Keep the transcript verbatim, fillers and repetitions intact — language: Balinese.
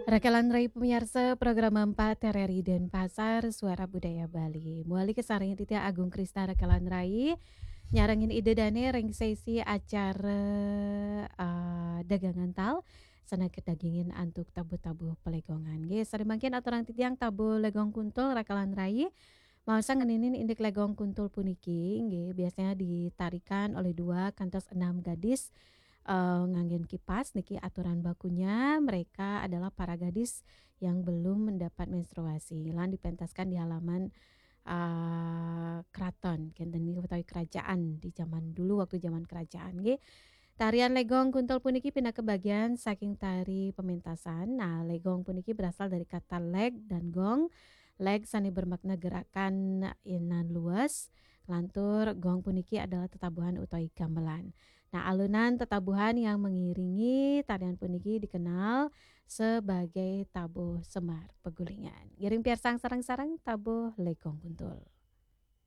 Rakalan rai pamiarsa program empat R R I Denpasar, Suara Budaya Bali. Muali kasarengin titiang Agung Krisna rakalan rai, nyarengin Ida Dane ring sesi acara, eh, dagang antal, sane kadagingin antuk tabuh-tabuh palegongan. Nggih, sane mangkin aturang titiang tabuh legong kuntul rakalan rai. Maosang ngeninin indik legong kuntul puniki, nggih, biasanya ditarikan oleh dua kantos enam gadis, eh, nganggen kipas. Niki aturan bakunya, mereka adalah para gadis yang belum mendapat menstruasi. Lan dipentaskan di halaman, eh, keraton, kenten niki utawi kerajaan di zaman dulu, waktu zaman kerajaan, nggih. Tarian legong kuntul puniki pinaka bagian saking tari pementasan. Nah, legong puniki berasal dari kata leg dan gong. Leg sane bermakna gerakan nan luwes, lantur gong puniki adalah tetabuhan utawi gamelan. Nah, alunan tetabuhan yang mengiringi tarian puniki dikenal sebagai tabuh Semar Pegulingan. Ngiring piarsang sareng-sareng tabuh legong kuntul.